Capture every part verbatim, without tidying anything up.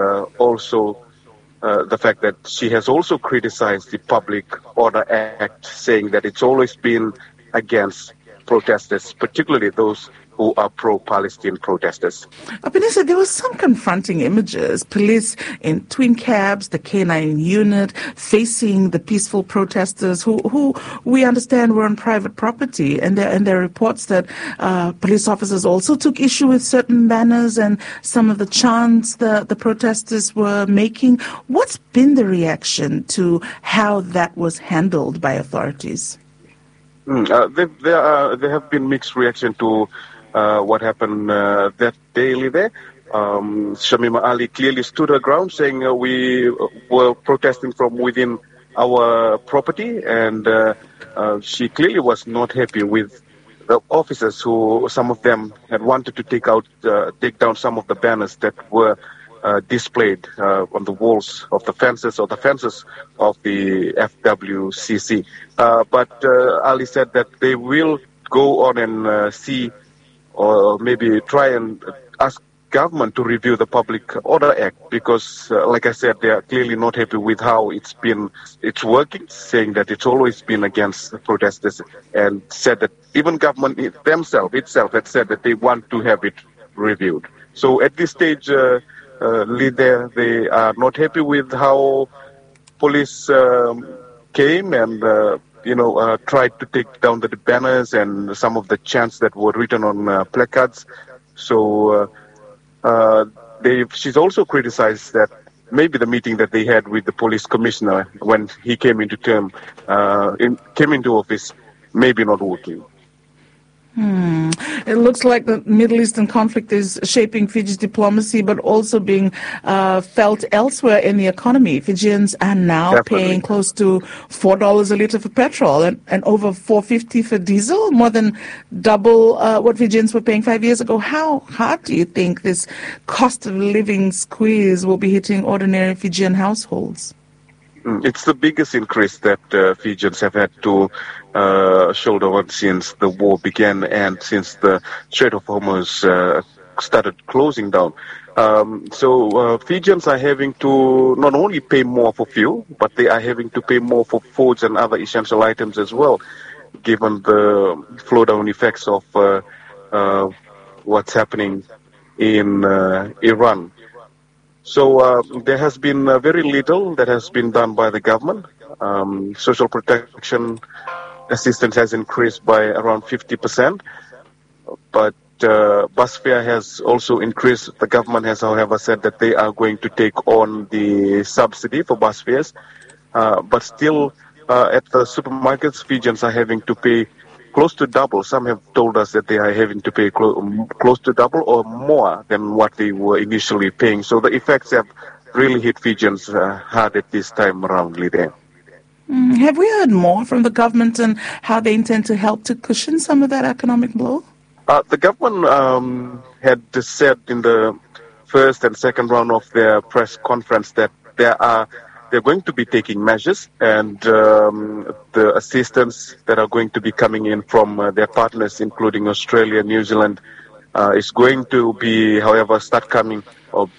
uh, also uh, the fact that she has also criticized the Public Order Act, saying that it's always been against protesters, particularly those who are pro-Palestine protesters. Albanese, there were some confronting images. Police in twin cabs, the K nine unit, facing the peaceful protesters who, who we understand were on private property. And there, and there are reports that uh, police officers also took issue with certain banners and some of the chants the, the protesters were making. What's been the reaction to how that was handled by authorities? Mm, uh, there, there, are, there have been mixed reaction to uh, what happened uh, that day, Lide. Um, Shamima Ali clearly stood her ground, saying uh, we uh, were protesting from within our property, and uh, uh, she clearly was not happy with the officers who, some of them, had wanted to take out, uh, take down some of the banners that were uh, displayed uh, on the walls of the fences or the fences of the F W C C. Uh, but uh, Ali said that they will go on and uh, see or maybe try and ask government to review the Public Order Act because, uh, like I said, they are clearly not happy with how it's been, it's working, saying that it's always been against protesters, and said that even government i- themselves itself had said that they want to have it reviewed. So at this stage, uh, uh, Lide, they are not happy with how police um, came and uh, you know uh, tried to take down the banners and some of the chants that were written on uh, placards. So uh, uh, they, she's also criticized that maybe the meeting that they had with the police commissioner when he came into term, uh, in, came into office, maybe not working. Hmm. It looks like the Middle Eastern conflict is shaping Fiji's diplomacy, but also being uh, felt elsewhere in the economy. Fijians are now Definitely. paying close to four dollars a liter for petrol and, and over four fifty for diesel, more than double uh, what Fijians were paying five years ago. How hard do you think this cost of living squeeze will be hitting ordinary Fijian households? Mm, it's the biggest increase that uh, Fijians have had to uh, shoulder on since the war began and since the Strait of Hormuz uh, started closing down. Um, so uh, Fijians are having to not only pay more for fuel, but they are having to pay more for foods and other essential items as well, given the flow down effects of uh, uh, what's happening in uh, Iran. So uh, there has been uh, very little that has been done by the government. Um, social protection assistance has increased by around fifty percent, but uh, bus fare has also increased. The government has, however, said that they are going to take on the subsidy for bus fares, uh, but still uh, at the supermarkets, Fijians are having to pay close to double. Some have told us that they are having to pay clo- um, close to double or more than what they were initially paying. So the effects have really hit Fijians uh, hard at this time around, Lide. Mm, have we heard more from the government and how they intend to help to cushion some of that economic blow? Uh, the government um, had said in the first and second round of their press conference that there are they're going to be taking measures, and um, the assistance that are going to be coming in from uh, their partners, including Australia, New Zealand, uh, is going to be, however, start coming or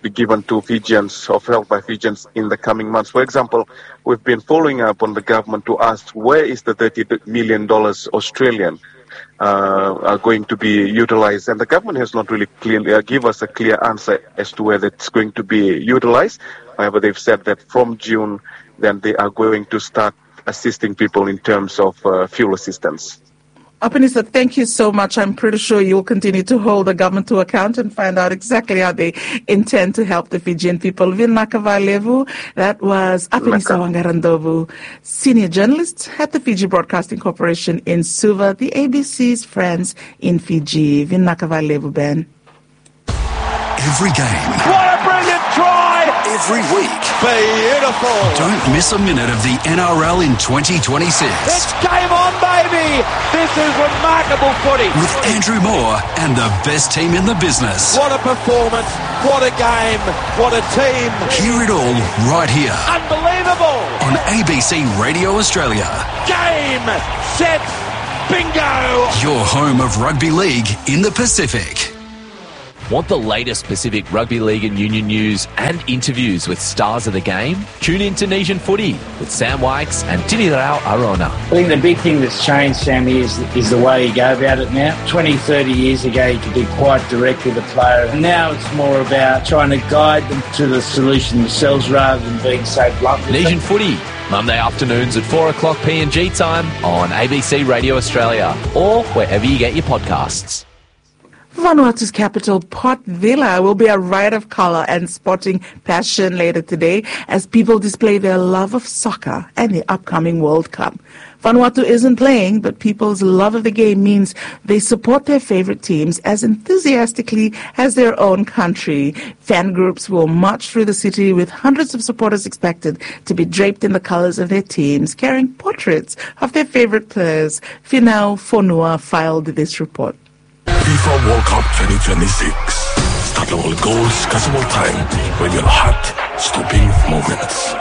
be given to Fijians or felt by Fijians in the coming months. For example, we've been following up on the government to ask where is the thirty million dollars Australian uh, are going to be utilized, and the government has not really clearly uh, give us a clear answer as to whether it's going to be utilized. However, they've said that from June, then they are going to start assisting people in terms of uh, fuel assistance. Albanese, thank you so much. I'm pretty sure you'll continue to hold the government to account and find out exactly how they intend to help the Fijian people. Vinaka vakalevu. That was Albanese Wangara Ndlovu, senior journalist at the Fiji Broadcasting Corporation in Suva, the A B C's friends in Fiji. Vinaka vakalevu, Ben. Every game. What a brilliant try! Every week. Beautiful. Don't miss a minute of the N R L in twenty twenty-six. It's game on, baby! This is remarkable footy. With Andrew Moore and the best team in the business. What a performance. What a game. What a team. Hear it all right here. Unbelievable. On A B C Radio Australia. Game, set, bingo. Your home of rugby league in the Pacific. Want the latest Pacific rugby league and union news and interviews with stars of the game? Tune in to Nation Footy with Sam Wykes and Tinirau Arona. I think the big thing that's changed, Sammy, is, is the way you go about it now. Twenty, thirty years ago, you could be quite direct with a player. And now it's more about trying to guide them to the solution themselves rather than being so blunt with Nation them. Footy, Monday afternoons at four o'clock P N G time on A B C Radio Australia or wherever you get your podcasts. Vanuatu's capital, Port Vila, will be a ride of color and sporting passion later today as people display their love of soccer and the upcoming World Cup. Vanuatu isn't playing, but people's love of the game means they support their favorite teams as enthusiastically as their own country. Fan groups will march through the city with hundreds of supporters expected to be draped in the colors of their teams, carrying portraits of their favorite players. Finau Fonua filed this report. FIFA World Cup twenty twenty-six. Start mo ol gols, kasi mo ol taem we ol heart-stopping moments.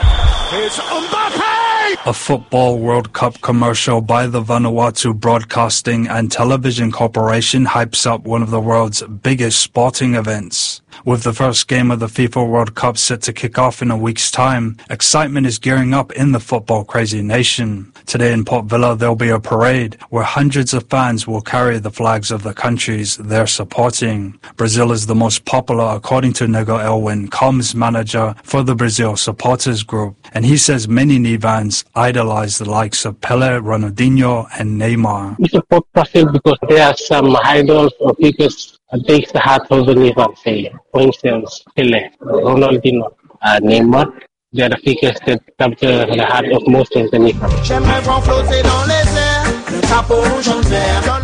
It's Mbappe! A football World Cup commercial by the Vanuatu Broadcasting and Television Corporation hypes up one of the world's biggest sporting events. With the first game of the FIFA World Cup set to kick off in a week's time, excitement is gearing up in the football-crazy nation. Today in Port Vila, there'll be a parade where hundreds of fans will carry the flags of the countries they're supporting. Brazil is the most popular, according to Nego Elwin, comms manager for the Brazil supporters group, and he says many Nivans idolize the likes of Pele, Ronaldinho, and Neymar. We support Brazil because there are some idols or figures that takes the heart of the Nivan. Say, for instance, Pele, Ronaldinho, uh, Neymar. They are the figures that capture the heart of most of the Nivan.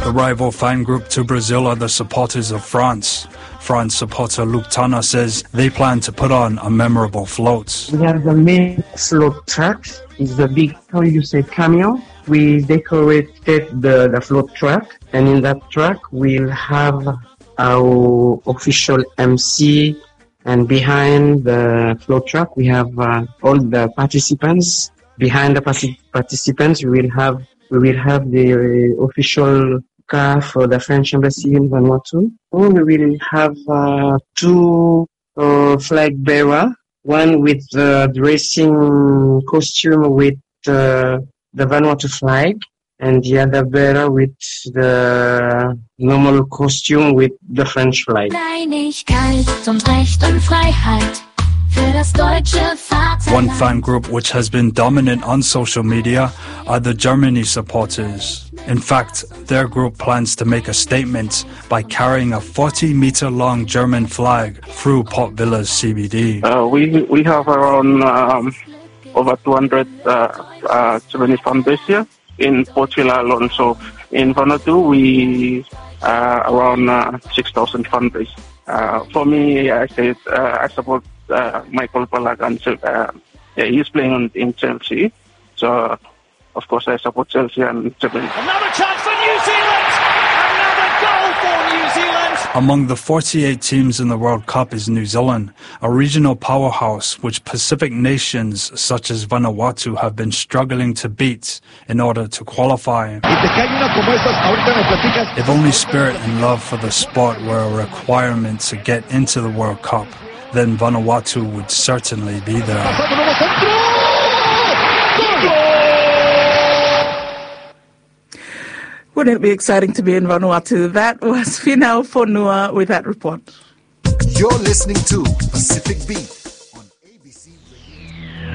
The rival fan group to Brazil are the supporters of France. France supporter Luke Tanner says they plan to put on a memorable float. We have the main float truck. It's the big, how you say, camion. We decorated the, the float truck, and in that truck we'll have our official M C, and behind the float truck, we have, uh, all the participants. Behind the parti-, participants, we will have, we will have the official car for the French embassy in Vanuatu. We will have, uh, two, uh, flag bearer, one with the dressing costume with, uh, the Vanuatu flag, and the other bearer with the normal costume with the French flag. Einigkeit und Recht und Freiheit für das deutsche Vaterland. One fan group which has been dominant on social media are the Germany supporters. In fact, their group plans to make a statement by carrying a forty-meter-long German flag through Port Vila's C B D. Uh, we, we have around, um, over two hundred, uh, uh, Germany fan base here in Port Vila alone. So in Vanuatu, we, uh, around, uh, six thousand fan base. Uh, for me, I say, uh, I support, uh, Michael Ballack, and, uh, yeah, he's playing on, in Chelsea. So, of course, I support Chelsea and Germany. Another chance for New Zealand! Another goal for New Zealand! Among the forty-eight teams in the World Cup is New Zealand, a regional powerhouse which Pacific nations such as Vanuatu have been struggling to beat in order to qualify. If only spirit and love for the sport were a requirement to get into the World Cup, then Vanuatu would certainly be there. Wouldn't it be exciting to be in Vanuatu? That was Finau Fonua with that report. You're listening to Pacific Beat on A B C Radio.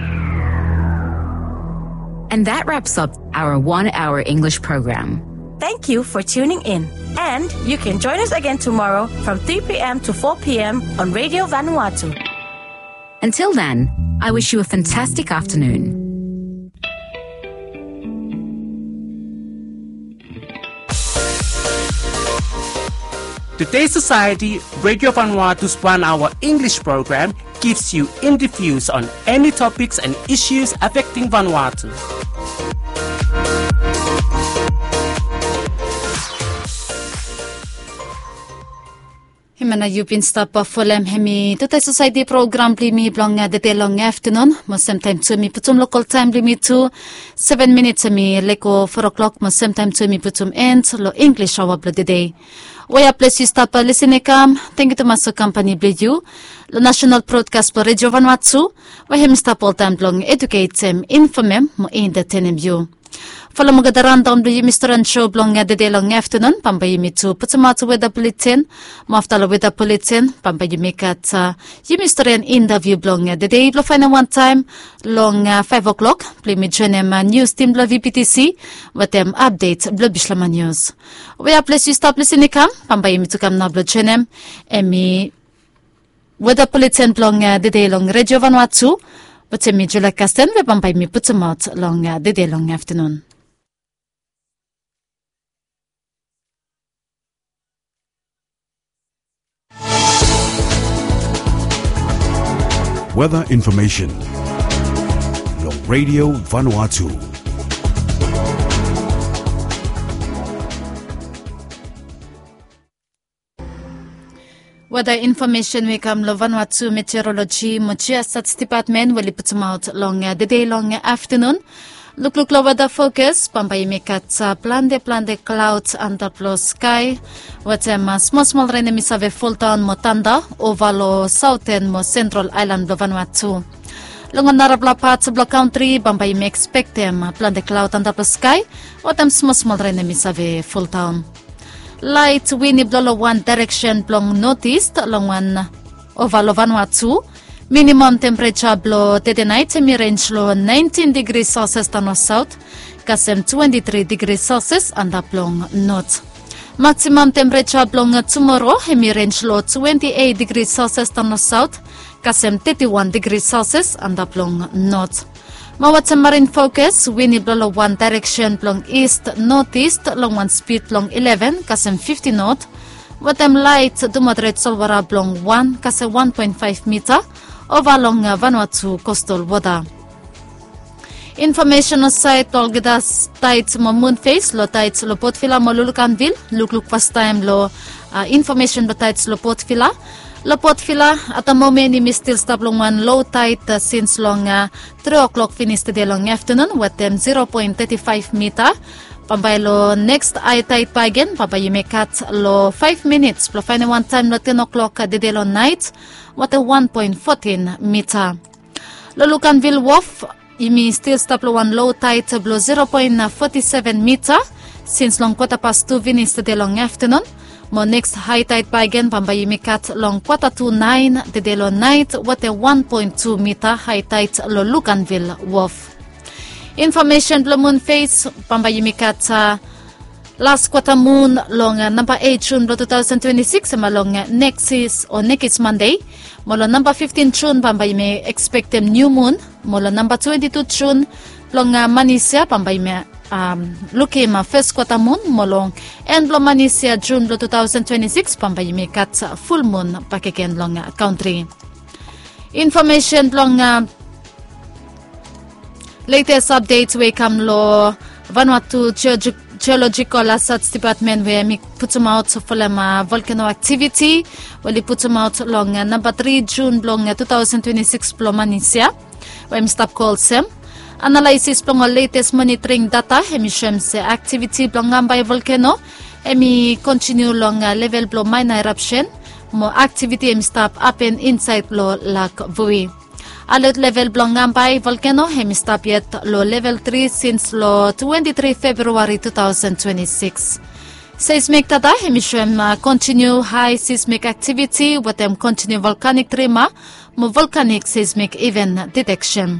And that wraps up our one hour English program. Thank you for tuning in. And you can join us again tomorrow from three p.m. to four p.m. on Radio Vanuatu. Until then, I wish you a fantastic afternoon. Today Society, Radio Vanuatu's one hour English program, gives you interviews on any topics and issues affecting Vanuatu. Hemia nao yu bin stap folem hemi tude sosaeti program blong yumi blong dede long aftenun, mo semtaem tu mi putum lokol taem blong yumi tu, seven minits hemi lego foa oklok, mo semtaem tu mi putum en long English aoa blong dede. Wea ples yu stap lisin i kam, tangkiu tumas long kampani blong yu long nasenal brodkas blong Redio Vanua Tu, we hemi stap oltaem blong eduketem, infomem mo entetenem yu. Folem olgeta randaon blong yumi storian sou blong dede long aftenun, bambae yumi tu putumaot weda buleten, mo afta long weda buleten bambae yumi gat yumi storian intaviu blong dede blong faenem wantaem long faef oklok, blong yumi joenem nius tim blong VBTC wetem apdet blong Bislama Nius. Wea ples yu stap lisin i kam, bambae yumi tu kam nao blong joenem hemi weda buleten blong dede long Redio Vanua Tu wetem mi, Julia Kasten, we bambae yumi putumaot long dede long aftenun. Weda infomesen long Redio Vanua Tu. Weda infomesen we i kam long Vanua Tu Meteoroloji mo Jiasats Depatmen we oli putumaot long dede long aftenun. Lukluk long weda fokas, bambae yumi gat plante plante klaod antap long skae wetem smol smol ren hemi save foldaon mo tanda ova long saoten mo sentral aelan blong Vanua Tu. Long ol narafala pat blong kantri bambae yumi ekspektem plante klaod antap long skae wetem smol smol ren hemi save foldaon. Laet win i blo long wan daereksen blong notis long wan ova long Vanua Tu. Minimam tempereja blong tede naet hemi renj long naentin digri Celsius daon long saot, kasem twenti tri digri Celsius antap long not. Maksimam tempereja blong tumoro hemi renj long twenti eit digri Celsius daon long saot, kasem teti wan digri Celsius antap long not. Mo wetem marin fokas, win i blo long wan daereksen blong ist notis long wan spid blong ileven kasem fifti not, wetem laet tu moderet solwota blong wan kasem wan poen faef mita ova long Vanua Tu kostal wota. Infomesen long saed blong olgeta taet mo mun fes long taet long Port Vila mo Lulukanvil. Lukluk fastaem long infomesen blong taet long Port Vila. Long Port Vila at the moment yumi stil stap long wan lo taet sins long tri oklok finis tede long aftenun wetem zero poen teti faef mita. Bambae long neks hae taet bakegen bambae yumi gat long faef minits blong faenem wantaem long ten oklok tede long naet wetem wan poen fotin mita. Long Lukanvil Wof yumi stil stap long wan lo taet blong zero poen foti seven mita sins long kwata pas tu finis tede long aftenun. Mo neks hae taet bakegen bambae yumi gat long kwata tu naen tede long naet wetem wan poen tu mita hae taet long Lukanvil Wof. Infomesen blong mun fes, bambae yumi gat las kwata mun long namba eit Jun blong tu taosen twenti sikis hemia long nekis o nekis Mande. Mo long namba fiftin Jun bambae yumi ekspektem niu mun. Mo long namba twenti tu Jun blong manis ya bambae yumi lukim fes kwata mun. Mo long en blong manis ya Jun blong tu taosen twenti sikis bambae yumi gat ful mun bakegen long kantri. Infomesen blong letes apdet we i kam long Vanua Tu Jeolojikol Asats Depatmen we hemi putumaot folem volkeno aktiviti we oli putumaot long namba tri Jun blong tu taosen twenti sikis blong manis ya, we hemi stap go olsem. Analaesis blong ol letes monitring data hemi soem se aktiviti blong Ambae volkeno hemi kontiniu long level blong maena erapsen, mo aktiviti hemi stap hapen insaed long Lak Vui. Alot level blong Ambae volkeno hemi stap yet long level tri sins long twenti tri Febreri tu taosen twenti sikis. Seismik data hemi soem kontiniu hae seismik aktiviti wetem kontiniu volkanik trima mo volkanik seismik iven diteksen.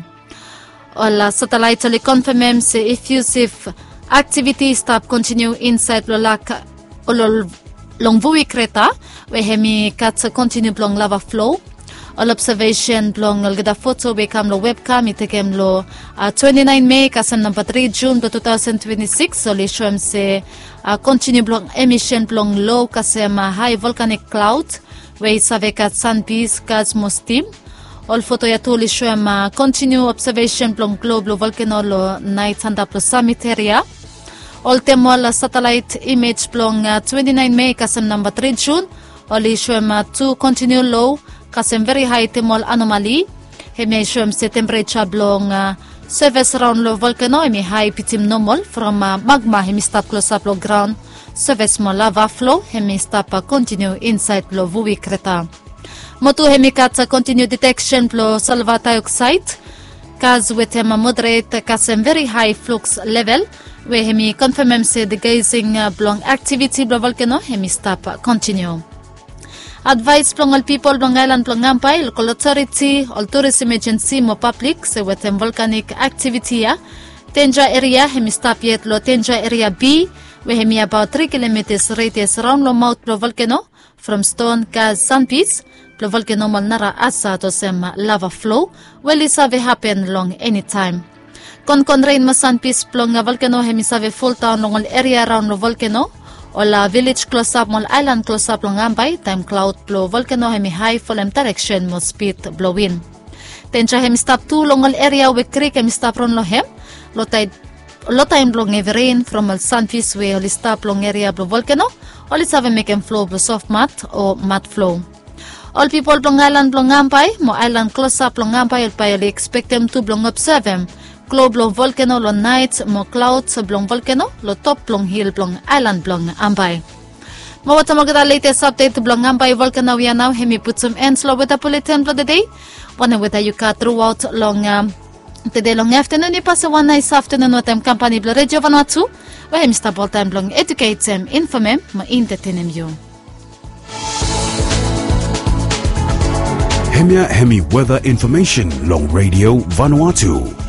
Ol satelaet oli konfamem se ifiusif aktiviti i stap kontiniu insaed long Lak, long Vui kreta we hemi gat kontiniu blong lava flo. Ol obsevesen blong olgeta foto we i kam long webkam i tekem long twenti naen Mei kasem namba tri Jun blong tu taosen twenti sikis oli soem se kontiniu blong emisen blong lo kasem hae volkanik klaod we i save gat sanbis, gas mo stim. Ol foto ya tu oli soem kontiniu obsevesen blong glo blong volkeno long naet antap long samit eria. Oltem ol satelaet imej blong twenti naen Mei kasem namba tri Jun Oli soem tu kontiniu lo kasem veri hae temol anomali. Hemia i soem se tempereja blong seves raon long volkeno hemi hae bitim nomol from magma hemi stap klosap long graon. Seves mo lava flo hemi stap kontiniu insaed long vui kreta. Mo tu hemi gat kontiniu deteksen blong salva daeoksaed gas wetem moderet kasem veri hae fluks level, we hemi konfemem se degesing blong aktiviti blong volkeno hemi stap kontiniu. Advaes blong ol pipol blong aelan blong Ambae, lokol otoriti, ol turis emejensi mo pablik se wetem volkanik aktiviti ya, denja eria hemi stap yet long denja eria B, we hemi abaot tri kilometas redias raon long maot blong volkeno, from ston gas sanpis blong volkeno mo ol nara asad olsem lava flo we oli save hapen long enitaem. Konkon ren mo sanpis blong volkeno hemi save foldaon long ol eria raon long volkeno. Ol vilej klosap mo ol aelan klosap long Ambae taem klaod blong volkeno hemi hae folem daereksen mo spid blong win. Denja hemi stap tu long ol eria we krik hemi stap ron long hem. Lotaem blong hevi ren from ol sanfis we oli stap long eria blong volkeno, oli save mekem flo blong sof mat o mat flo. Ol pipol blong aelan blong Ambae mo aelan klosap long Ambae, bae oli ekspektem tu blong obsevem klo blong volkeno long naet mo klaod blong volkeno long top blong hil blong aelan blong Ambae. Mo wetem olgeta letes apdet blong Ambae volkeno ya nao hemi putum en long weta buletin blong tede. Wanem weta yu gat truaot long tede long aftenun, yu pasem wan naes aftenun wetem kampani blong Redio Vanuatu, we hemi stap oltaem blong eduketem, infomem mo entetenem yu. Hemia hemi weta infomesen long Redio Vanuatu.